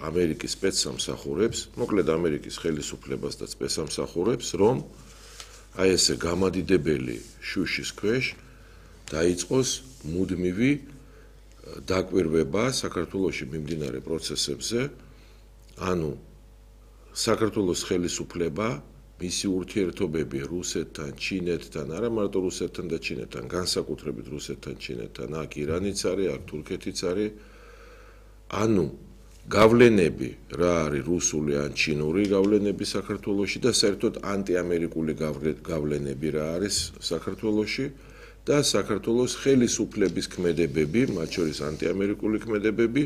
ამერიკის სპეცსამსახურებს, მოკლედ ამერიკის ხელისუფლებას და სპეცსამსახურებს, რომ აი ესე გამადიდებელი შუშის ქვეშ დაიწყოს მუდმივი დაკვირვება საქართველოში მიმდინარე პროცესებზე, ანუ საქართველოს ხელისუფლება მისი ურთიერთობები რუსეთთან, ჩინეთთან, არა მარტო რუსეთთან და ჩინეთთან, განსაკუთრებით რუსეთთან, ჩინეთთან, აქ ირანიც არის, აქ თურქეთიც არის, ანუ გავლენები რა არის რუსული ან ჩინური გავლენები საქართველოში და საერთოდ ანტიამერიკული გავლენები რა არის საქართველოში და საქართველოს ხელისუფლების ქმედებები, მათ შორის ანტიამერიკული ქმედებები,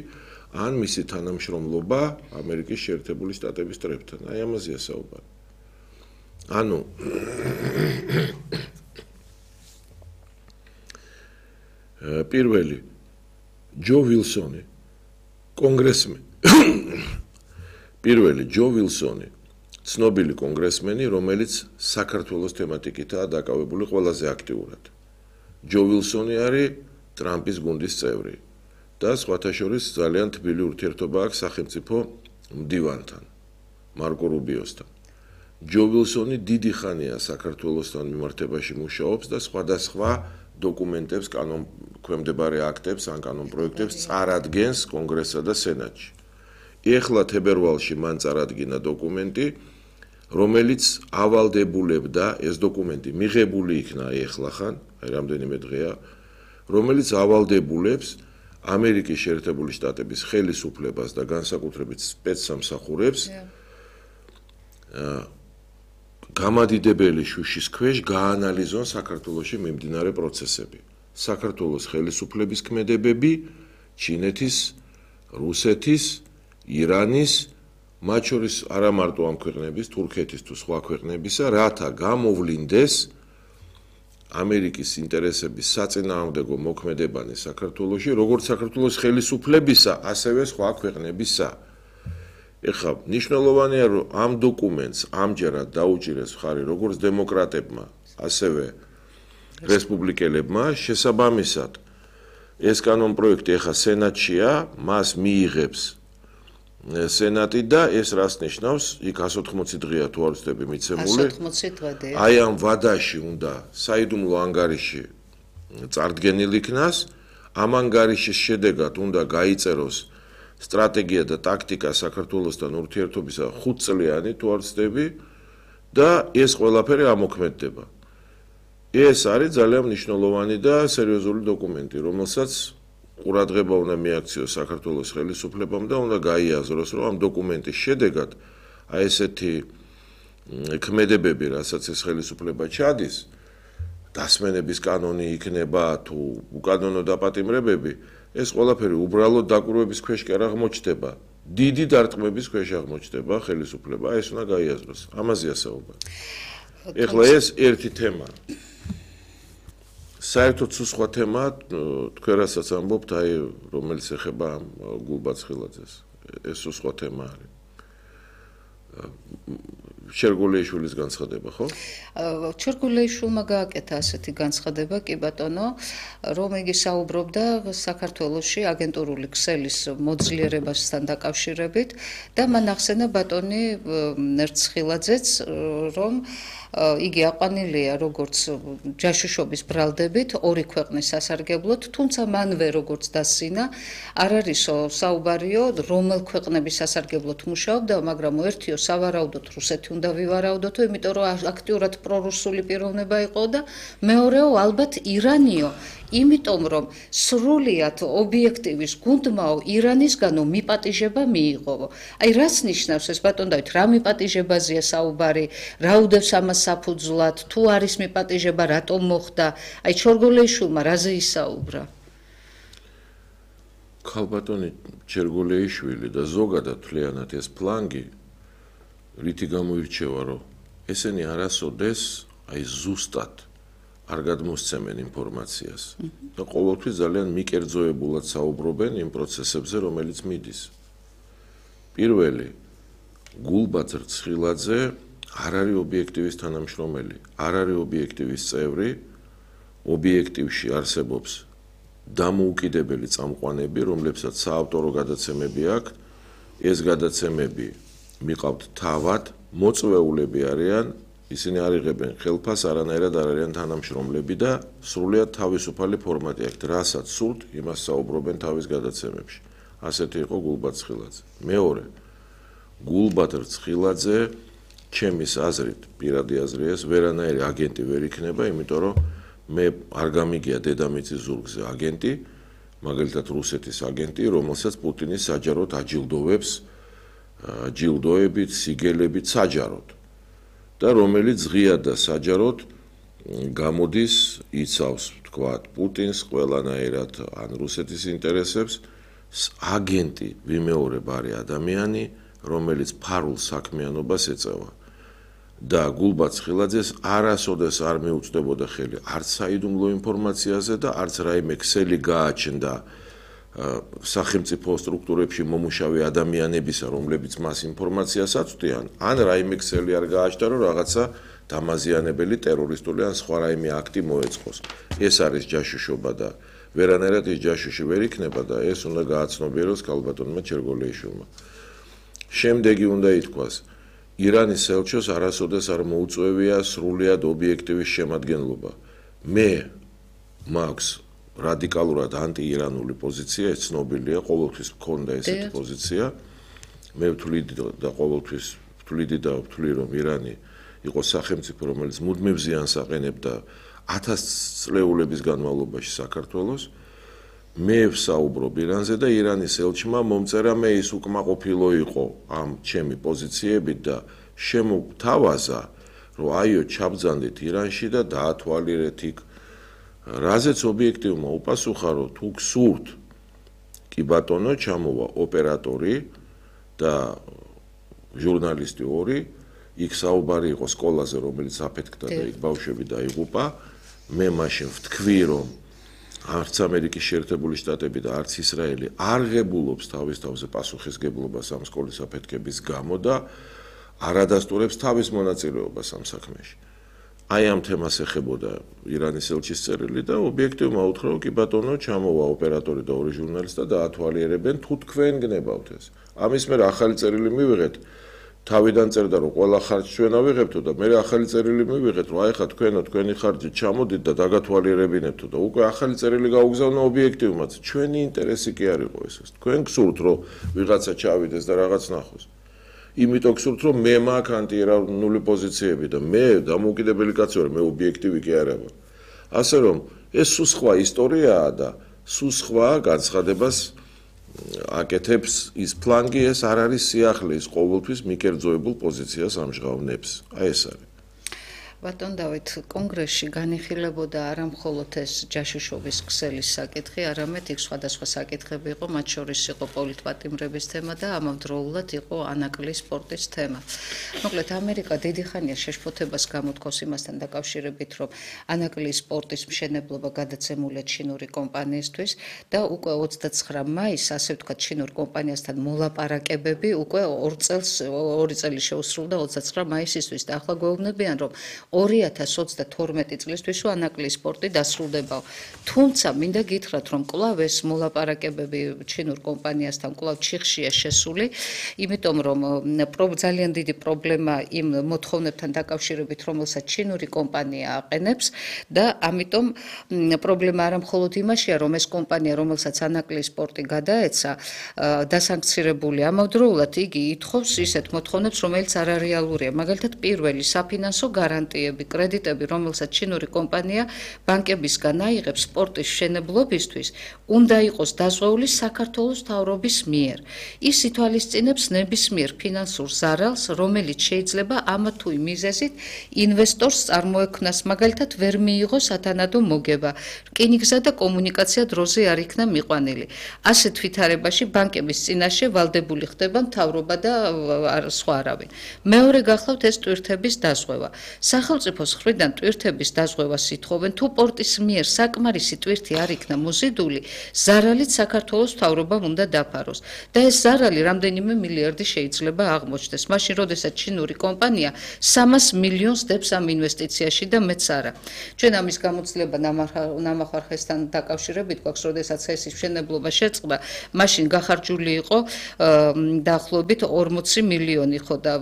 ან მისი თანამშრომლობა ამერიკის შეერთებული შტატების წრებთან. აი ამაზეა საუბარი. ანუ პირველი ჯო ვილსონი ცნობილი კონგრესმენი, რომელიც საქართველოს თემატიკითაა დაკავებული ყველაზე აქტიურად. ჯო ვილსონი არის ტრამპის გუნდის წევრი და სხვათა შორის ძალიან თბილი ურთიერთობა აქვს სახელმწიფო მდივანთან, მარკო რუბიოსთან. ჯო ვილსონი დიდი ხანია საქართველოსთან მიმართებაში მუშაობს და სხვადასხვა დოკუმენტებს, ქვემდებარე აქტებს ან კანონპროექტებს წარადგენს კონგრესსა და სენატში. ეხლა თებერვალში მან წარადგინა დოკუმენტი, რომელიც ავალდებულებდა, ეს დოკუმენტი მიღებული იქნა ეხლა ხან, რამდენიმე დღეა, რომელიც ავალდებულებს ამერიკის შეერთებული შტატების ხელისუფლებას და განსაკუთრებით სპეცსამსახურებს გამადიდებელი შუშის ქვეშ გაანალიზონ საქართველოში მიმდინარე პროცესები. საქართველოს ხელისუფლების ქმედებები, ჩინეთის, რუსეთის, ირანის, მათ შორის არა მარტო ამ ქვეყნების, თურქეთის თუ სხვა ქვეყნებისა, რათა გამოვლინდეს ამერიკის ინტერესების საწინააღმდეგო მოქმედებანი საქართველოში, როგორც საქართველოს ხელისუფლებისა, ასევე სხვა ქვეყნებისა. ეხლა მნიშვნელოვანია, რომ ამ დოკუმენტს ამჯერად დაუჭირეს მხარი როგორც დემოკრატებმა, ასევე რესპუბლიკელებმა, შესაბამისად ეს კანონპროექტი ეხლა სენატშია, მას მიიღებს სენატი და ეს რას ნიშნავს? იქ 180 დღეა თუ არ ვცდები მიცემული. 180 დღე. აი ამ ვადაში უნდა საიდუმლო ანგარიში წარდგენილი იქნას, ამ ანგარიშის შედეგად უნდა გაიწეროს სტრატეგია და ტაქტიკა საქართველოსთან ურთიერთობისა 5 წლიანი თუ არ ვცდები და ეს ყველაფერი ამოქმედდება. ეს არის ძალიან მნიშვნელოვანი და სერიოზული დოკუმენტი, რომელსაც ყურადღება უნდა მიაქციოს საქართველოს ხელისუფლებამ და უნდა გაიაზროს, რომ ამ დოკუმენტის შედეგად აი ესეთი ქმედებები, რასაც ეს ხელისუფლება ჩადის, დასმენების კანონი იქნება თუ უკანონო დაპატიმრებები, ეს ყველაფერი უბრალოდ დაკვირვების ქვეშ კი არ აღმოჩნდება, დიდი დარტყმების ქვეშ აღმოჩნდება ხელისუფლება, ეს უნდა გაიაზროს. ამაზეა საუბარი. ეხლა ეს ერთი თემა. საერთოდ სხვა თემა, თქვენ რასაც ამბობთ, აი რომელიც ეხება გულბაცხილაძეს, ეს სხვა თემა არის. შერგოლეიშვილის განცხადება, ხო? შერგოლეიშვილმა გააკეთა ასეთი განცხადება, კი ბატონო, რომ იგი საუბრობდა საქართველოში აგენტურული ქსელის მოძლიერებასთან დაკავშირებით და მან ახსენა ბატონი ერცხილაძეც, რომ იგი აყვანილია როგორც ჯაშუშობის ბრალდებით ორი ქვეყნის სასარგებლოდ, თუმცა მანვე როგორც დასინა, არ არისო საუბარიო, რომელ ქვეყნების სასარგებლოდ მუშაობდა, მაგრამ ერთიო სავარაუდოდ რუსეთი უნდა ვივარაუდოთო, იმიტომ რომ აქტიურად პრორუსული პიროვნება იყო და მეორეო ალბათ ირანიო, იმიტომ რომ სრულიად ობიექტივის გუნდმაო ირანისგანო მიპატიჟება მიიღო. აი რას ნიშნავს ეს ბატონ დავით, რა მიპატიჟებაზეა საუბარი, რა უდევს ამას საფუძვლად, თუ არის მიპატიჟება, რატომ მოხდა? აი შერგოლეიშვილმა რაზე ისაუბრა? ქალბატონი შერგოლეიშვილი და ზოგადად თლიანად ეს ფლანგი რითი გამოირჩევა, რომ ესენი არასოდეს აი ზუსტად არ გადმოსცემენ ინფორმაციას და ყოველთვის ძალიან მიკერძოებულად საუბრობენ იმ პროცესებზე, რომელიც მიდის. პირველი, გულბაძ რცხილაძე არ არის ობიექტივის თანამშრომელი, არ არის ობიექტივის წევრი, ობიექტივში არსებობს დამოუკიდებელი წამყვანები, რომლებსაც საავტორო გადაცემები აქვთ, ეს გადაცემები მიყავთ თავად, მოწვეულები არიან, ისინი არ იღებენ ხელფას, არანაირად არ არიან თანამშრომლები და სრულიად თავისუფალი ფორმატი აქვთ, რასაც სურთ, იმას საუბრობენ თავის გადაცემებში. ასეთი იყო გულბად ცხილაძე. მეორე, გულბად ცხილაძე, ჩემის აზრით, პირადი აზრი ეს, ვერანაირი აგენტი ვერ იქნება, იმიტომ რომ მე არ გამიგია დედამიწის ზურგზე აგენტი, მაგალითად რუსეთის აგენტი, რომელსაც პუტინი საჯაროდ აჯილდოვებს, ჯილდოებით, სიგელებით საჯაროდ. და რომელიც ღიად და საჯაროდ გამოდის, იცავს, თქვათ, პუტინს ყველანაირად ან რუსეთის ინტერესებს, აგენტი ვიმეორებ არის ადამიანი, რომელიც ფარულ საქმიანობას ეწევა. და გულბად ცხილაძეს არასოდეს არ მიუწვდებოდა ხელი არც საიდუმლო ინფორმაციაზე და არც რაიმე ქსელი გააჩნდა სახელმწიფო სტრუქტურებში მომუშავე ადამიანებისა, რომლებიც მას ინფორმაციას აწვდიან, ან რაიმე ქსელი არ გააჩნდა, რომ რაღაცა დამაზიანებელი ტერორისტული ან სხვა რაიმე აქტი მოეწყოს. ეს არის ჯაშუშობა და ვერანაირად ეს ჯაშუში ვერ იქნება და ეს უნდა გააცნობიეროს ქალბატონმა ჩერგოლეიშვილმა. შემდეგი უნდა ითქვას, ირანის ელჩოს არასოდეს არ მოუწვევია სრულიად ობიექტივის შემადგენლობა. მე მაქვს რადიკალურად ანტიირანული პოზიცია, ეს ცნობილია, ყოველთვის მქონდა ესეთი პოზიცია. მე ვთვლიდი და ყოველთვის ვთვლი, რომ ირანი იყო სახელმწიფო, რომელიც მუდმივ ზიანს აყენებდა 1000 წლეულების განმავლობაში საქართველოს. მე ვსაუბრობ ირანზე და ირანის ელჩმა მომწერა მე ის უკმაყოფილო იყო ამ ჩემი პოზიციებით და შემოგთავაზა, რომ აიო ჩაბძანდით ირანში და დაათვალიერეთ იქ. რაზეც ობიექტივმა უპასუხა, რომ თუ გსურთ, კი ბატონო, ჩამოვა ოპერატორი და ჟურნალისტი ორი, იქ საუბარი იყო სკოლაზე, რომელიც აფეთქდა და იქ ბავშვები დაიღუპა. მე მაშინ ვთქვი, რომ არც ამერიკის შეერთებული შტატები და არც ისრაელი არ ღებულობს თავის თავზე პასუხისგებლობას ამ სკოლის აფეთქების გამო და არ ადასტურებს თავის მონაწილეობას ამ საქმეში. აი ამ თემას ეხებოდა ირანის ელჩის წერილი და ობიექტივმა უთხრა, რომ კი ბატონო, ჩამოვა ოპერატორი და ორი ჟურნალისტი და დაათვალიერებენ, თუ თქვენ გნებავთ ეს. ამის მერე ახალი წერილი მივიღეთ. თავიდან წერდა, რომ ყველა ხარჯს ჩვენ ავიღებთო და მე ახალი წერილი მივიღეთ, რომ აი ხა თქვენი ხარჯი ჩამოდით და დაგათვალიერებინეთო და უკვე ახალი წერილი გაუგზავნა ობიექტივმაც. ჩვენი ინტერესი კი არ იყო ეს. თქვენ გსურთ, რომ ვიღაცა ჩავიდეს და რაღაც ნახოს. იმიტომ გსურთ, რომ მე მაქვს ანტიირანული პოზიციები და მე დამოუკიდებელი კაცი ვარ, მე ობიექტივი კი არა ვარ. ასე რომ ეს სულ სხვა ისტორიაა და სულ სხვა განცხადებას აკეთებს ის ფლანგი, ეს არ არის სიახლე, ის ყოველთვის მიკერძოებულ პოზიციას ამჟღავნებს. აი ეს არის. ბატონ დავით, კონგრესში განიხილებოდა არა მხოლოდ ეს ჯაშუშობის ქსელის საკითხი, არამედ იქ სხვადასხვა საკითხები იყო, მათ შორის იყო პოლიტპატიმრების თემა და ამავდროულად იყო ანაკლიის სპორტის თემა. მოკლედ, ამერიკა დიდი ხანია შეშფოთებას გამოთქვას იმასთან დაკავშირებით, რომ ანაკლიის სპორტის მშენებლობა გადაცემულია ჩინური კომპანიისთვის და უკვე 29 მაისს, ასე ვთქვათ, ჩინურ კომპანიასთან მოლაპარაკებები უკვე 2 წელი შეუსრულდა 29 მაისისთვის და ახლა გვეუბნებიან, რომ 2022 წლისთვის ანაკლიის სპორტი დასრულდება. თუმცა მინდა გითხრათ, რომ კვლავ ეს მოლაპარაკებები ჩინურ კომპანიასთან კვლავ ჩიხშია შესული, იმიტომ რომ ძალიან დიდი პრობლემა იმ მოთხოვნებთან დაკავშირებით, რომელსაც ჩინური კომპანია აყენებს და ამიტომ პრობლემა არა მხოლოდ იმაშია, რომ ეს კომპანია, რომელსაც ანაკლიის სპორტი გადაეცა, დასანქცირებულია. ამავდროულად იგი ითხოვს ისეთ მოთხოვნებს, რომელიც არარეალურია. მაგალითად, პირველი საფინანსო გარანტიები, კრედიტები, რომელსაც ჩინური კომპანია ბანკებისგან აიღებს სპორტის მშენებლობისთვის, უნდა იყოს დაზღვეული საქართველოს მთავრობის მიერ. ის ითვალისწინებს ნებისმიერ ფინანსურ ზარალს, რომელიც შეიძლება ამა თუ იმ მიზეზით ინვესტორს წარმოექმნას, მაგალითად, ვერ მიიღოს სათანადო მოგება, რკინიგზა და კომუნიკაცია დროზე არ იქნა მიყვანილი. ასეთ ვითარებაში ბანკების წინაშე ვალდებული ხდება მთავრობა და სხვა არავინ. მეორე გახლავთ ეს ტვირთების დაზღვევა. სახელმწიფოს მხრიდან ტვირთების დაზღვევას ითხოვენ, თუ პორტის მიერ საკმარისი ტვირთი არ იქნა მოზიდული, ზარალით საქართველოს მთავრობამ უნდა დაფაროს და ეს ზარალი რამდენიმე მილიარდი შეიძლება აღმოჩნდეს. მაშინ, როდესაც ჩინური კომპანია 300 მილიონს დებს ამ ინვესტიციაში და მეც არა. ჩვენ ამის გამოცდილება ნამახარხესთან დაკავშირებით გვაქვს, როდესაც ეს მშენებლობა შეწყდა, მაშინ გახარჯული იყო დაახლოებით 40 მილიონი ხო და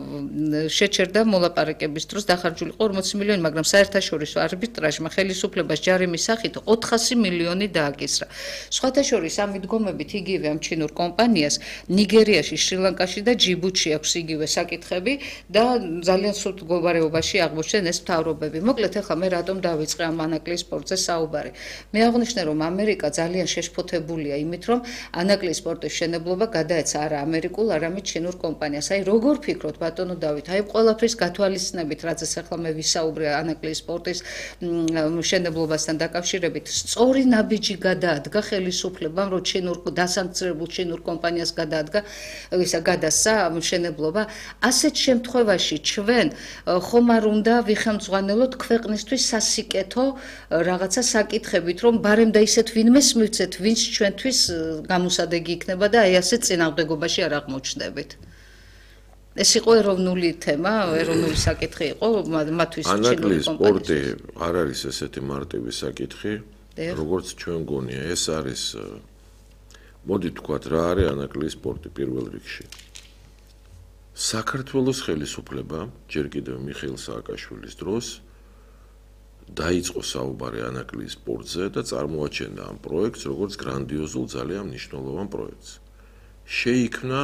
შეჩერდა მოლაპარაკების დროს დახარჯული იყო 40 მილიონი, მაგრამ საერთაშორისო არბიტრაჟმა ხელისუფლებას ჯარიმის სახით 400 მილიონი დააკისრა. სხვათა შორის ამ მიდგომებით იგივე ამ ჩინურ კომპანიას ნიგერიაში, შრი-ლანკაში და ჯიბუტში აქვს იგივე საკითხები და ძალიან სულ მდგომარეობაში აღმოჩნდნენ ეს მთავრობები. მოკლედ ახლა მე რატომ დავიწყე ამ ანაკლის სპორტზე საუბარი. მე აღვნიშნე, რომ ამერიკა ძალიან შეშფოთებულია იმით, რომ ანაკლის სპორტის მშენებლობა გადაეცა არა ამერიკულ, არამედ ჩინურ კომპანიას. აი როგორ ფიქრობთ ბატონო დავით, აი ყველაფრის გათვალისწინებით, რაზეც ახლა მე ვისაუბრე ანაკლის სპორტის მშენებლობასთან დაკავშირებით, სწორი ნაბიჯი გადაადგა ხელისუფლებამ, რომ ჩინურ დასანქცირებულ ჩინურ კომპანიას გადასცა მშენებლობა. ასეთ შემთხვევაში ჩვენ ხომ არ უნდა ვიხელმძღვანელოთ ქვეყნისთვის სასიკეთო რაღაცა საკითხებით, რომ ბარემ და ისეთ ვინმეს მივცეთ, ვინც ჩვენთვის გამოსადეგი იქნება და აი ასეთ წინააღმდეგობაში არ აღმოჩნდებით. ეს იყო ეროვნული თემა, ეროვნული საკითხი იყო მათთვის ჩინური კომპანიის. სპორტი არ არის ესეთი მარტივი საკითხი, როგორც ჩვენ გონია. ეს არის მოდი თქვათ რა არის ანაკლის სპორტი პირველ რიგში. საქართველოს ხელისუფლება ჯერ კიდევ მიხეილ სააკაშვილის დროს დაიწყო საუბარი ანაკლის სპორტზე და წარმოაჩენდა ამ პროექტს როგორც გრანდიოზულ ძალიან მნიშვნელოვან პროექტს. შეიქმნა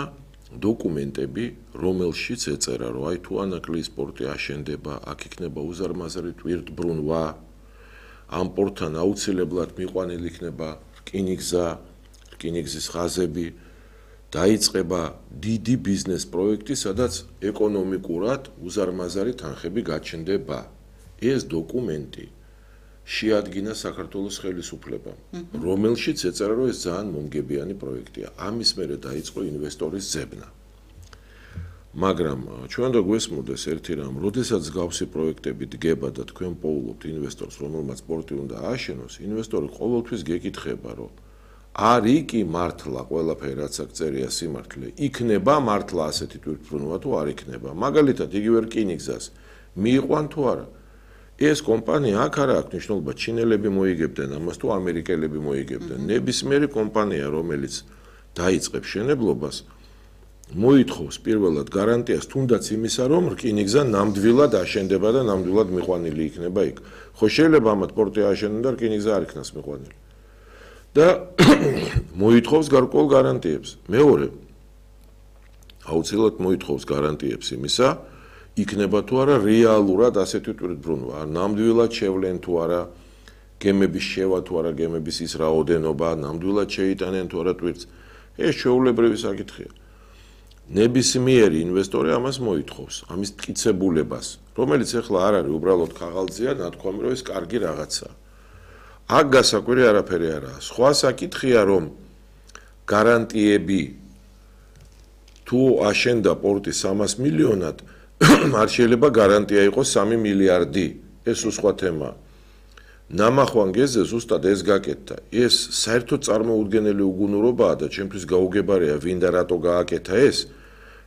დოკუმენტები, რომელშიც ეწერა, რომ აი თუ ანაკლის სპორტი აშენდება, აქ იქნება უზარმაზარი ტვირთბრუნვა, ამ პორტთან აუცილებლად მიყვანილი იქნება რკინიგზის ხაზები, დაიწყება დიდი ბიზნეს პროექტი, სადაც ეკონომიკურად უზარმაზარი თანხები გაჩნდება. ეს დოკუმენტი შეადგინა საქართველოს ხელისუფლებამ, რომელშიც ეწერა, რომ ეს ძალიან მომგებიანი პროექტია. ამის მერე დაიწყო ინვესტორის ძებნა. მაგრამ ჩვენ უნდა გვესმოდეს ერთი რამ, როდესაც გავსი პროექტები დგება და თქვენ პოულობთ ინვესტორს, რომელმაც სპორტი უნდა ააშენოს, ინვესტორი ყოველთვის გეკითხება, რომ არის კი მართლა ყველაფერი რაც აქ წერია სიმართლე, იქნება მართლა ასეთი თვითმფრინვა თუ არ იქნება. მაგალითად, იგივე რკინიგზას მიიყვან თუ არა. ეს კომპანია აქ არ აქვს მნიშვნელობა, ჩინელები მოიგებდნენ ამას თუ ამერიკელები მოიგებდნენ. ნებისმიერი კომპანია, რომელიც დაიწყებს შენებლობას, მოითხოვს პირველად გარანტიას თუნდაც იმისა, რომ რკინიგზა ნამდვილად აშენდება და ნამდვილად მიყვანილი იქნება იქ. ხო შეიძლება ამათ პორტი აშენონ და რკინიგზა არ იქნას მიყვანილი. და მოითხოვს გარკვეულ გარანტიებს. მეორე, აუცილებლად მოითხოვს გარანტიებს იმისა, იქნება თუ არა რეალურად ასეთი თვითმფრინვა, ნამდვილად შევლენ თუ არა გემების შევა თუ არა გემების ის რაოდენობა, ნამდვილად შეიტანენ თუ არა თვითმფრინვს. ეს ჩვეულებრივი საკითხია. ნებისმიერი ინვესტორი ამას მოითხოვს, ამის მტკიცებულებას, რომელიც ახლა არ არის უბრალოდ ქაღალდზეა, ნათქვამი, რომ ეს კარგი რაღაცაა. აქ გასაკვირი არაფერი არაა. სხვა საკითხია, რომ გარანტიები თუ აშენდა პორტი 300 მილიონად, არ შეიძლება გარანტია იყოს 3 მილიარდი. ეს სხვა თემაა. ნამახვან გეზზე ზუსტად ეს გაკეთდა. ეს საერთოდ წარმოუდგენელი უგუნურობაა და ჩემთვის გაუგებარია ვინ და რატო გააკეთა ეს.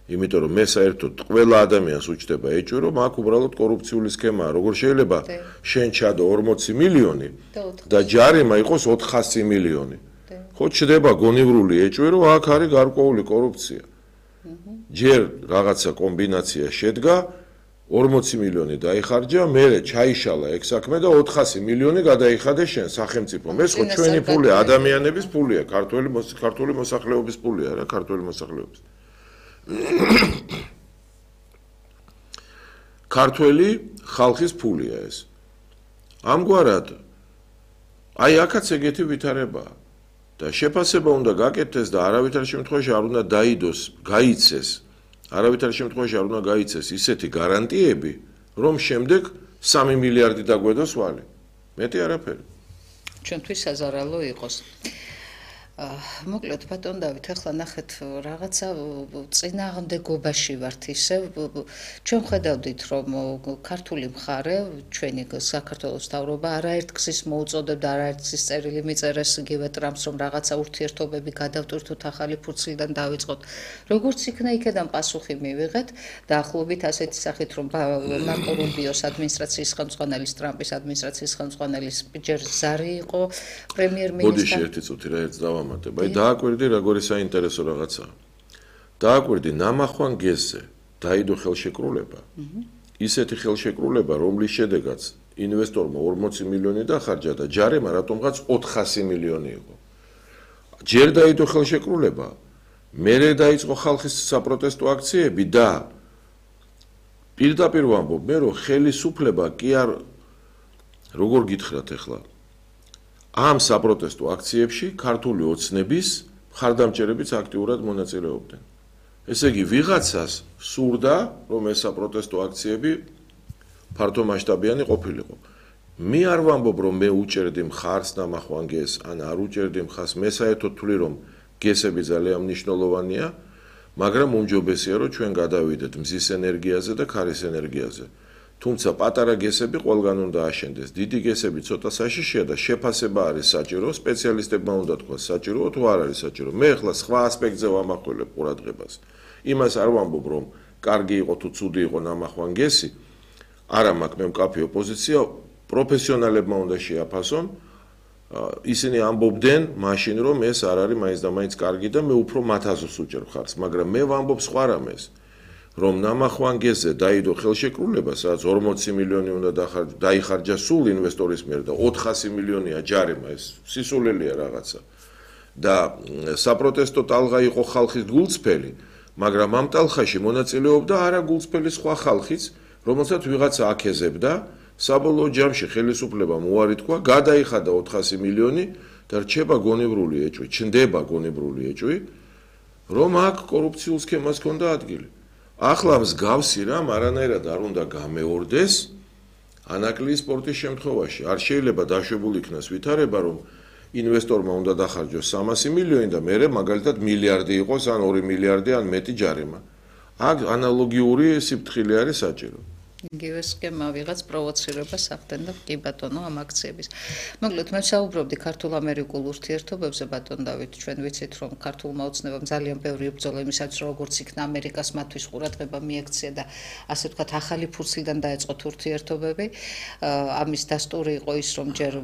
იმიტომ რომ მე საერთოდ ყველა ადამიანს უჩდება ეჭვი, რომ აქ უბრალოდ კორუფციული სქემაა. როგორ შეიძლება შენ ჩადო 40 მილიონი და ჯარიმა იყოს 400 მილიონი. ხო ჩდება გონივრული ეჭვი, რომ აქ არის გარკვეული კორუფცია. ჯერ რაღაცა კომბინაცია შედგა, 40 მილიონი დაიხარჯა, მერე ჩაიშალა ეგ საქმე და 400 მილიონი გადაიხადა შენ სახელმწიფომ. ეს ხო ჩვენი ფულია, ადამიანების ფულია, ქართული მოსახლეობის ფულია რა, ქართული მოსახლეობის. ქართველი ხალხის ფულია ეს. ამგვარად აი აქაც ეგეთი ვითარებაა და შეფასება უნდა გაკეთდეს და არავითარ შემთხვევაში არ უნდა დაიდოს, გაიცეს. არავითარ შემთხვევაში არ უნდა გაიცეს ისეთი გარანტიები, რომ შემდეგ 3 მილიარდი დაგვედოს ვალი. მეტი არაფერი. ჩვენთვის საზარალო იყოს. მოკლედ ბატონ დავით, ახლა ნახეთ რაღაცა წინააღმდეგობაში ვართ ისევ. ჩვენ ხედავდით, რომ ქართული მხარე, ჩვენი საქართველოს მთავრობა არაერთ გზის მოუწოდებდა, არაერთ გზის წერილი მიწერეს იგივე ტრამპს, რომ რაღაცა ურთიერთობები გადავტვირთოთ, ახალი ფურცლიდან დავიწყოთ. როგორც იქნა, იქედან პასუხი მივიღეთ, დაახლოებით ასეთი სახით, რომ მარკო რუბიოს ადმინისტრაციის ხელმძღვანელის, ტრამპის ადმინისტრაციის ხელმძღვანელის ჯერ ზარი იყო პრემიერ-მინისტრი. ბოდიში ერთი წუთი რა ერთს დავამატებ. აი დააკვირდი როგორი საინტერესო რაღაცაა. დააკვირდი ნამახვან გეზზე დაიდო ხელშეკრულება. ისეთი ხელშეკრულება, რომლის შედეგაც ინვესტორმა 40 მილიონი დახარჯა და ჯარემა რატომღაც 400 მილიონი იყო. ჯერ დაიდო ხელშეკრულება, მერე დაიწყო ხალხის საპროტესტო აქციები და პირდაპირ ვამბობ მე, რომ ხელისუფლება კი არ როგორ გითხრათ ახლა ამ საპროტესტო აქციებში ქართული ოცნების მხარდამჭერებიც აქტიურად მონაწილეობდნენ. ესე იგი, ვიღაცას სურდა, რომ ეს საპროტესტო აქციები ფართომასშტაბიანი ყოფილიყო. მე არ ვამბობ, რომ მე უჭერდი მხარს ნამახვან გეზს, ან არ უჭერდი მხარს, მე საერთოდ ვთვლი, რომ გესები ძალიან მნიშვნელოვანია, მაგრამ უმჯობესია, რომ ჩვენ გადავიდეთ მზის ენერგიაზე და ქარის ენერგიაზე. თუმცა პატარა გესები ყველგან უნდა აშენდეს. დიდი გესები ცოტა საშიშია და შეფასება არის საჭირო, სპეციალისტებმა უნდა თქვას საჭიროა თუ არ არის საჭირო. მე ახლა სხვა ასპექტზე ვამახვილებ ყურადღებას. იმას არ ვამბობ, რომ კარგი იყო თუ ცუდი იყო ნამახვან გესი. არა მაქვს მე მკაფიო პოზიცია, პროფესიონალებმა უნდა შეაფასონ. ისინი ამბობდნენ მაშინ, რომ ეს არ არის მაინც და მაინც კარგი და მე უფრო მათ აზრს უჭერ ხარს, მაგრამ მე ვამბობ სხვა რამეს. რომ ნამახვან გეზზე დაიდო ხელშეკრულება, სადაც 40 მილიონი უნდა დაიხარჯა სულ ინვესტორის მიერ და 400 მილიონია ჯარემა, ეს სისულელია რაღაცა. და საპროტესტო ტალღა იყო ხალხის გულწრფელი, მაგრამ ამ ტალღაში მონაწილეობდა არა გულწრფელი სხვა ხალხიც, რომელსაც ვიღაცა აქეზებდა, საბოლოო ჯამში ხელისუფლებამ უარი თქვა, გადაიხადა 400 მილიონი და რჩება გონივრული ეჭვი, ჩნდება გონივრული ეჭვი, რომ აქ კორუფციულ სქემას ჰქონდა ადგილი. ახლა მსგავსი რამ არანაირად არ უნდა გამეორდეს ანაკლიის სპორტის შემთხვევაში. არ შეიძლება დაშვებული იქნას ვითარება, რომ ინვესტორმა უნდა დახარჯოს 300 მილიონი და მერე მაგალითად მილიარდი იყოს, ან 2 მილიარდი, ან მეტი ჯარიმა. აქ ანალოგიური სიფრთხილე არის საჭირო. იგივე სქემა ვიღაც პროვოცირებას ახდენდა კი ბატონო ამ აქციების. მოკლედ მე საუბრობდი ქართულ-ამერიკულ ურთიერთობებზე ბატონ დავით, ჩვენ ვიცით რომ ქართულმა ოცნებამ ძალიან ბევრი იბრძოლა იმისაც როგორც იქნა ამერიკას მათთვის ყურადღება მიექცია და ასე ვთქვათ ახალი ფურცლიდან დაეწყოთ ურთიერთობები. ამის დასტური იყო ის რომ ჯერ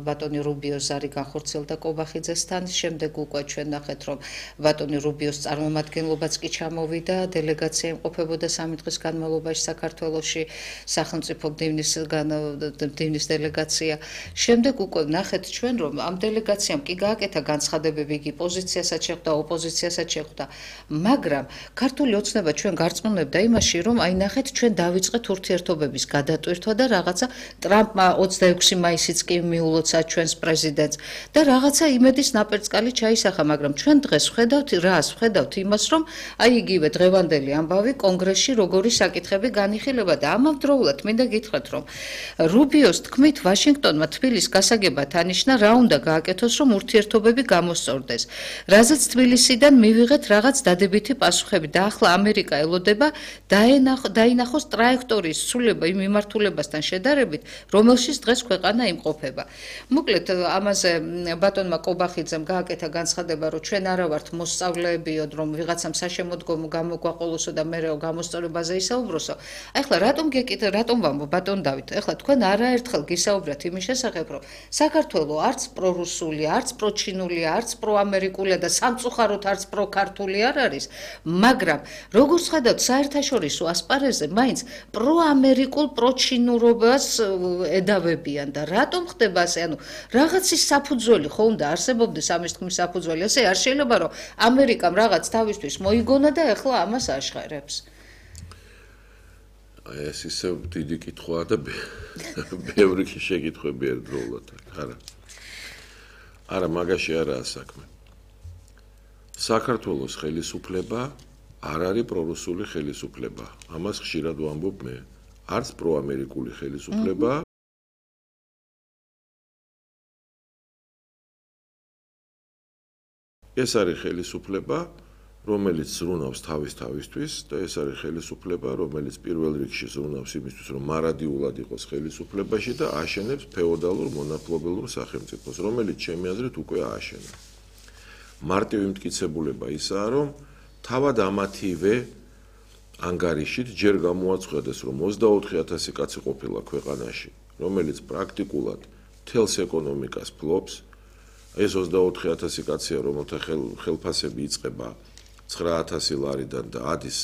ბატონი რუბიოს ზარი განხორციელდა კობახიძესთან, შემდეგ უკვე ჩვენ ნახეთ რომ ბატონი რუბიოს წარმომადგენლობაც კი ჩამოვიდა, დელეგაცია იმყოფებოდა 3 დღის განმავლობაში საქართველოში სახელმწიფო მდივნის დელეგაცია. შემდეგ უკვე ნახეთ ჩვენ, რომ ამ დელეგაციამ კი გააკეთა განცხადებები, იგი პოზიციასაც შეხვდა, ოპოზიციასაც შეხვდა, მაგრამ ქართული ოცნება ჩვენ გარწმუნებდა იმაში, რომ აი ნახეთ ჩვენ დავიწყეთ ურთიერთობების გადატვირთვა და რაღაცა ტრამპმა 26 მაისიც კი მიულოცა ჩვენს პრეზიდენტს და რაღაცა იმედის ნაპერწკალი ჩაისახა, მაგრამ ჩვენ დღეს ვხედავთ იმას, რომ აი იგივე დღევანდელი ამბავი კონგრესში როგორი საკითხები განიხილება და ამავდროულად მინდა გითხრათ, რომ რუბიოს თქმით ვაშინგტონმა თბილისს გასაგებად ანიშნა, რა უნდა გააკეთოს, რომ ურთიერთობები გამოსწორდეს. რაზეც თბილისიდან მივიღეთ რაღაც დადებითი პასუხები და ახლა ამერიკა ელოდება დაინახოს ტრაექტორიის ცვლილება იმ მიმართულებასთან შედარებით, რომელშიც დღეს ქვეყანა იმყოფება. მოკლედ ამაზე ბატონმა კობახიძემ გააკეთა განცხადება, რომ ჩვენ არა ვართ მოსწავლეებიოდ, რომ ვიღაცამ საშემოდგომო გამოგვაყოლოსო და მერეო გამოსწორებაზე ისაუბროსო. ახლა რატომ ვამბობ ბატონ დავით, ახლა თქვენ არაერთხელ გისაუბრეთ იმის შესახებ, რომ საქართველო არც პრორუსულია, არც პროჩინულია, არც პროამერიკულია და სამწუხაროდ არც პროქართული არ არის, მაგრამ როგორც ხედავთ საერთაშორისო ასპარეზზე მაინც პროამერიკულ პროჩინურობას ედავებიან და რატომ ხდება ასე, ანუ რაღაცის საფუძველი ხო უნდა არსებობდეს ამის თქმის საფუძველი, ასე არ შეიძლება რომ ამერიკამ რაღაც თავისთვის მოიგონა და ახლა ამას აშხერებს. ეს ისე დიდი კითხვაა და ბევრი შეკითხვები ერთდროულად აქვს. არა, მაგაში არაა საქმე. საქართველოს ხელისუფლება არ არის პრორუსული ხელისუფლება. ამას ხშირად ვამბობ მე. არც პროამერიკული ხელისუფლება, ეს არის ხელისუფლება, რომელიც ზრუნავს თავისთვის და ეს არის ხელისუფლება, რომელიც პირველ რიგში ზრუნავს იმისთვის, რომ მარადიულად იყოს ხელისუფლებაში და აშენებს ფეოდალურ მონაპოლობელურ სახელმწიფოს, რომელიც ჩემი აზრით უკვე ააშენა. მარტივი მტკიცებულება ისაა, რომ თავად ამათივე ანგარიშით ჯერ გამოაცხადეს, რომ 24,000 კაცი ყოფილა ქვეყანაში, რომელიც პრაქტიკულად მთელს ეკონომიკას ფლობს. ეს 24,000 კაცია, რომელთა ხელფასები იწყება 9,000 ლარიდან და ადის